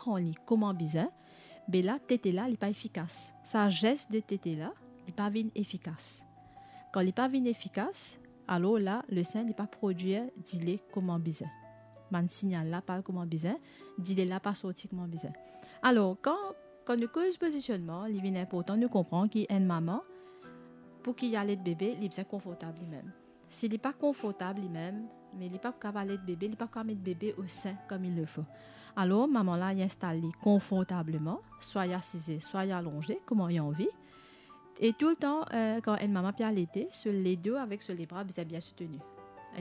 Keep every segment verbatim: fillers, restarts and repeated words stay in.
pran li kouma bizin, be la tete la li pa efikas. Sa zes de tete la, li pa vinn efikas. Kan li pa vinn efikas, alor la, le sen li pa prodwir dile kouma bizin. Bann signal la pa al kouma bizin, dile la pa sorti kouma bizin. Alor, kan, kan nou koz pozisionnman, li vinn inportan nou konpran ki enn mama, pou ki li alet bebe, li bizin konfortab limem. Si li pa konfortab limem, me li pa pou kapav alet bebe, li pa pou kapav met bebe o sen comme il le faut. Alor, mama la, li instal li konfortableman, swa li asize, swa li alonze, kouma li anvi. E toultan, eh, kan enn mama pe alete, so ledo avek so lebra bizin bien souteni.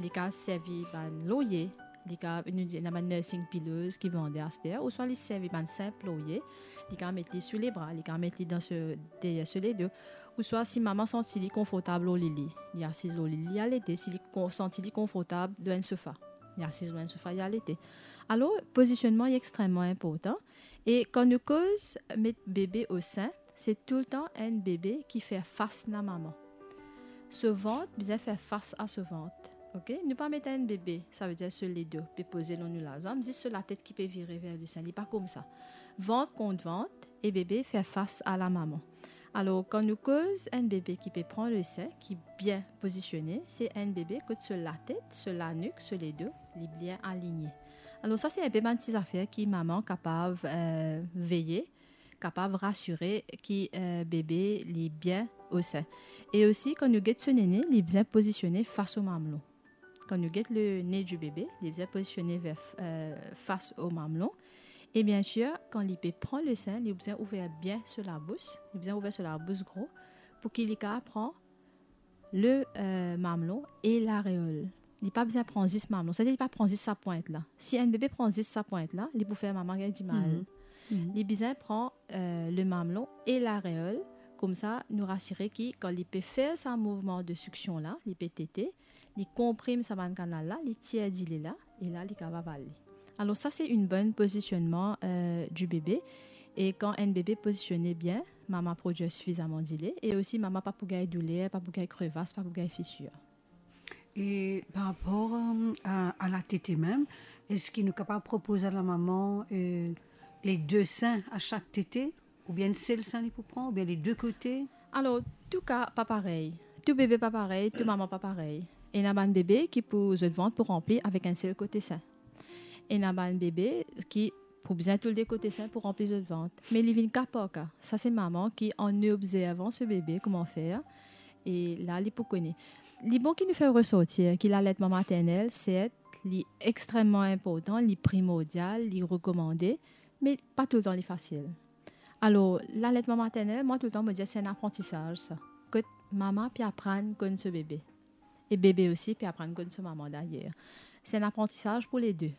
Li kapav servi bann lorye, li kapav, nou dir, ena bann nursing pillows ki vande aster, ouswa li servi bann sinp lorye, li kapav met li sou lebra, li kapav met li dan so, deryer so ledo, ouswa si mama santi li konfortab lor lili, li asiz lor lili, li alete, si li kon-, santi li konfortab lor enn sofa, li asiz lor enn sofa, li alete. Alor, pozisionnman li extreman inportan. E kan nou koz met bebe o sen, se toultan enn bebe ki fer fas lamama. So vant bizin fer fas a so vant. Ok? Nou pa met enn bebe, savedir so ledo pe poze lor nou lazam, zis so latet ki pe vire ver le sen. Li pa koumsa. Vant kont vant e bebe fer fas a lamama. Alor, kan nou koz enn bebe ki pe pran le sen, ki bien pozisione, se enn bebe kot so latet, so lanik, so ledo, li bien aligne. Alor, sa se inpe bann ti zafer ki mama kapav, eh, veye, kapav rasire ki, eh, bebe li bien o sen. E osi, kan nou get so nene, li bizin pozisione fas o mamelon. Kan nou get le ne di bebe, li bizin pozisione ver, eh, fas o mamelon. E biensir, kan li pe pran le sen, li bizin ouver bien so labous, li bizin ouver so labous gro, pou ki li kapav pran le, eh, mamelon e lareol. Li pa bizin pran zis mamelon, savedir li pa pran zis sa pwint la. Si enn bebe pran zis sa pwint la, li pou fer mama gagn dimal. Mhm. Mhm. Li bizin pran, eh, le mamelon e lareol, koumsa nou rasire ki kan li pe fer sa mouvman de siksion la, li pe tete, li konprim sa bann kanal la, li tir dile la, e la li kapav ale. Alor sa se enn bon pozisionnman, eh, di bebe. E kan enn bebe pozisione bien, mama prodwir sifizaman dile, e osi mama pa pou gagn douler, pa pou gagn krevas, pa pou gagn fisir. E par rapor, eh, a, a latete mem, eski nou kapav propoz a lamama, eh, le de sen a sak tete, oubien enn sel sen li pou pran, oubien le de kote? Alor, tou ka pa parey. Tou bebe pa parey, tou mama pa parey. Ena bann bebe ki pou zot vant pou ranpli avek enn sel kote sen. Ena bann bebe ki pou bizin tou le de kote sen pou ranpli zot vant. Me li vinn ka par ka. Sa se mama ki, an obzervan so bebe kouma fer, e la li pou kone. Li bon ki nou fer resortir ki laletman maternel, sert, li extreman inportan, li primordial, li rekomande, me pa toultan li fasil. Alor, laletman maternel, mwa toultan mo dir se enn aprantisaz sa. Kot mama pe aprann konn so bebe. E bebe osi pe aprann konn so mama dayer. Se enn aprantisaz pou le de.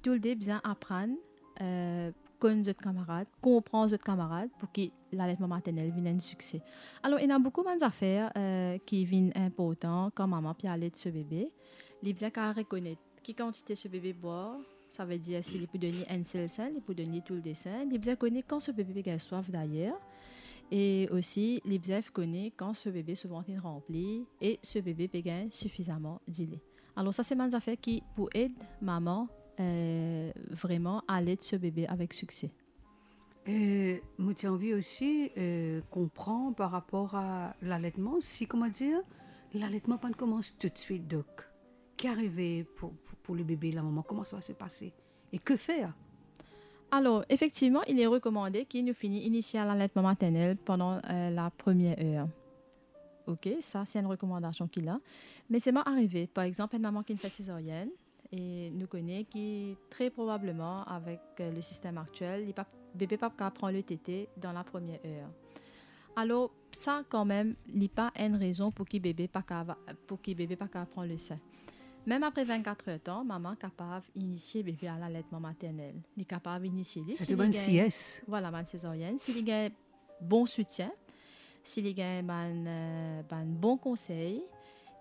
Tou le de bizin aprann, eh, konn zot kamarad, konpran zot kamarad pou ki laletman maternel vinn enn sikse. Alor, ena boukou bann zafer, eh, ki vinn inportan kan mama pe alet so bebe. Li bizin kapav rekonet ki kantite so bebe bwar, savedir si li pou donn li enn sel sen, li pou donn li tou le de sen, li bizin kone kan so bebe pe gagn swaf dayer, e osi li bizin kone kan so bebe so vant inn ranpli e so bebe pe gagn sifizaman dile. Alor sa se bann zafer ki pou ed mama, eh, vreman alet so bebe avek sikse. Eh, mo ti anvi osi, eh, konpran par rapor a laletman, si, kouma dir, laletman pa'nn koumans toutswit, dok ki arive pou, pou, pou le bebe, lamama, kouma sa va se pase? E ki fer? Alor, efektivman, il est recommandé ki nou fini inisie a laletman maternel pandan, eh, la première heure. Ok, sa se enn rekomandasion ki la. Me selman arive, par exanp, enn mama ki finn fer sezaryinn, e nou kone ki tre probableman avek, eh, le sistem aktiel, li pa, bebe pa kapav pran le tete dan la première heure. Alor, sa kanmem, li pa enn rezon pou ki bebe pa kapav, pou ki bebe pa kapav pran le sen. Mem apre vennkater er tan, mama kapav inisie bebe a laletman maternel. Li kapav inisie li, si li gagn, vwala, bann sezaryinn, si li gagn bon soutien, si li gagn bann, eh, bann bon konsey,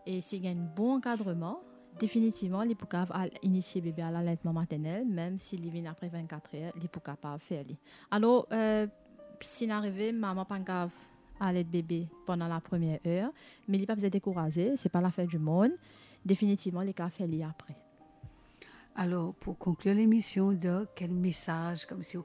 e si li gagn bon ankadreman, definitivman, li pou kapav al inisie bebe a laletman maternel, mem si li vinn apre vennkater er, li pou kapav fer li. Alor, eh, si inn arive, mama pa'nn kapav alet bebe pandan la première heure, me li pa bizin dekouraze, se pa la fin du monde. Definitivman, li kapav fer li apre. Alor, pou konklir lemision, dok, kel mesaz, koumsi ou